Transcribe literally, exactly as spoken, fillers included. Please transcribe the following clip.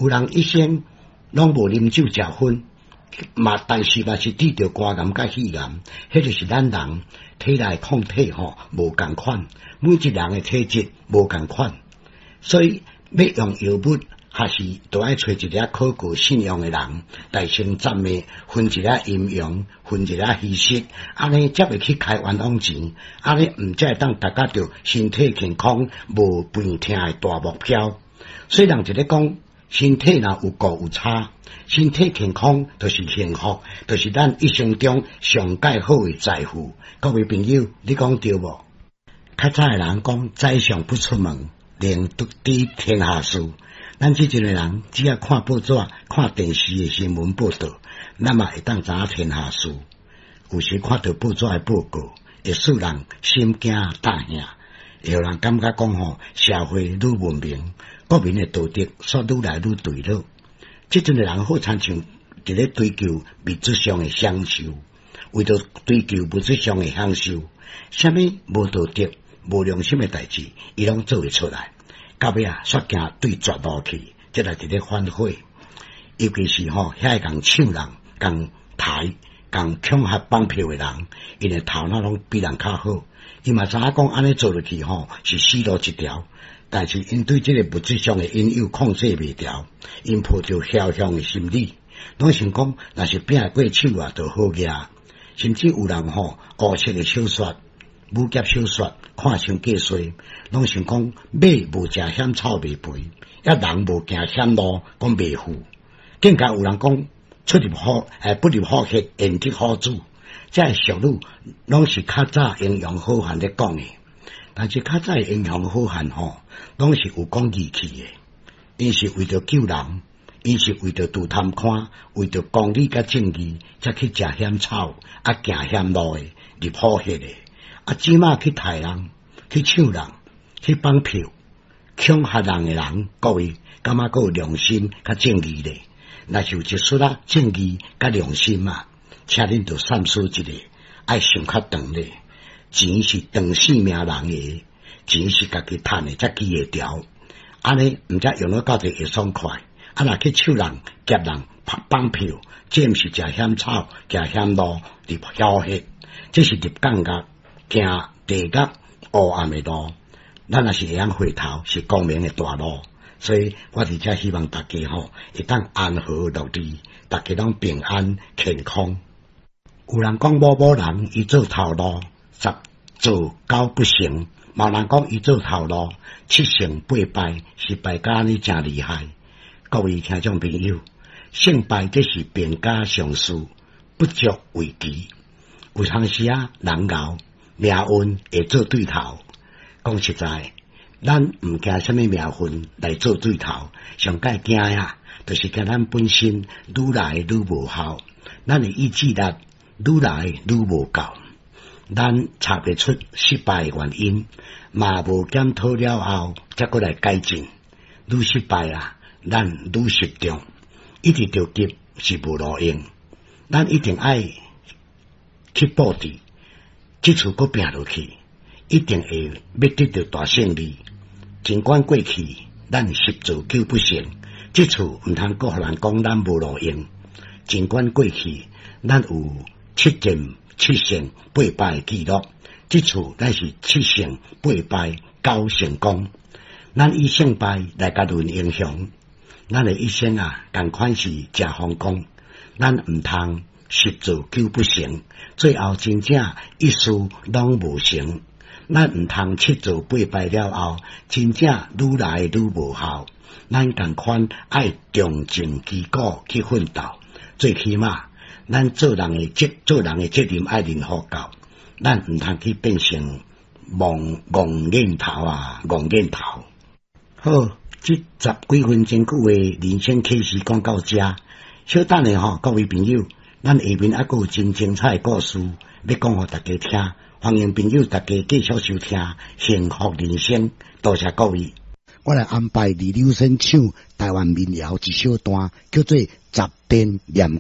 有人一生攏無啉酒食薰，嘛，但是嘛是得著肝癌佮肺癌，彼就是咱人體內抗體吼無仝款，每一人的體質無仝款，所以欲用藥物，還是都愛揣一个可靠信用的人，來先暫的分一下陰陽，分一下虛實，按呢才袂去開冤枉錢，按呢毋才會當達到著身體健康、無病痛的大目標。所以人一咧講，身體若有顧有差，身體健康就是幸福，就是咱一生中上蓋好的財富。各位朋友，你講對無？較早的人講，宰相不出門，能知天下事。咱這陣的人，只要看報紙、看電視的新聞報道，咱嘛會當知影天下事。有時看著報紙的報告，會使人心驚膽嚇，會予人感覺講吼，社會愈文明，國民的道德煞愈來愈墜落。這陣的人好親像佇咧追求物質上的享受，為著追求物質上的享受，啥物無道德、無良心的代誌，伊攏做會出來。到尾啊，煞行對絕路去，這來佇咧反悔。尤其是吼，遐會共搶人、共刣、共恐嚇綁票的人，𪜶的頭腦攏比人較好。伊嘛知影講按呢做落去吼，是死路一條。但是𪜶對這个物質上的引誘控制袂牢，𪜶抱著僥倖的心理，攏想講若是拼會過手啊，就好額。甚至有人吼，烏色的小說、武俠小說看傷過濟，攏想講馬無食險草袂肥，抑人無行險路講袂富。更加有人講出入虎，欸，不入虎穴，焉得虎子。這个俗語攏是較早英雄好漢咧講的，但是較早的英雄好漢吼，攏是有講義氣的，𪜶是為著救人，𪜶是為著除貪官，為著公理佮正義，才去食險草，啊行險路的，入虎穴的。啊，這馬去刣人、去搶人、去綁票、恐嚇人的人，各位感覺閣有良心佮正義咧？若是有一絲仔正義佮良心啊，請恁著三思一下，愛想較長咧。錢是長性命人的，錢是家己趁的才記會牢。按呢毋才用了到底會爽快。啊，若去搶人、劫人、綁票，這毋是食險草、行險路、入虎穴，這是入監獄、行地獄、黑暗的路。咱若是會曉回頭，是光明的大路。所以我佇遮希望大家吼，會當安和樂利，大家攏平安健康。有人講某某人伊做頭路十做九不成，嘛有人講伊做頭路七成八敗，失敗甲按呢誠厲害。各位聽眾朋友，勝敗這是兵家常事，不足為奇。有當時啊，人𠢕命運會做對頭。講實在，咱毋驚啥物命運來做對頭，上蓋驚啊，就是驚咱本身愈來愈無效，咱的意志力愈來愈無夠，咱查袂出失敗的原因，嘛無檢討了後，才閣來改進。愈失敗啊，咱愈集中，一直著急是無路用。咱一定愛去布置，這次閣拼落去，一定會欲得著大勝利。儘管過去咱十做九不成，這次毋通閣予人講咱無路用。儘管過去咱有七戰七勝八敗的記錄，這次咱是七勝八敗九成功。咱以勝敗來共論英雄，咱的一生啊，仝款是誠風光。咱毋通十做九不成，最後真正一事攏無成。咱毋通七做八敗了後，真正愈來愈無效。咱仝款愛重整旗鼓去奮鬥，最起碼咱做人的責做人的責任愛認予夠，咱毋通去變成戇戇念頭啊，戇念頭。好，這十幾分鐘久的人生啟示講到遮，小等下吼，各位朋友，咱下面猶閣有真精彩的故事欲講予大家聽，歡迎朋友大家繼續收聽《幸福人生》，多謝各位。我來安排李柳生唱台灣民謠一小段，叫做《十殿念君》。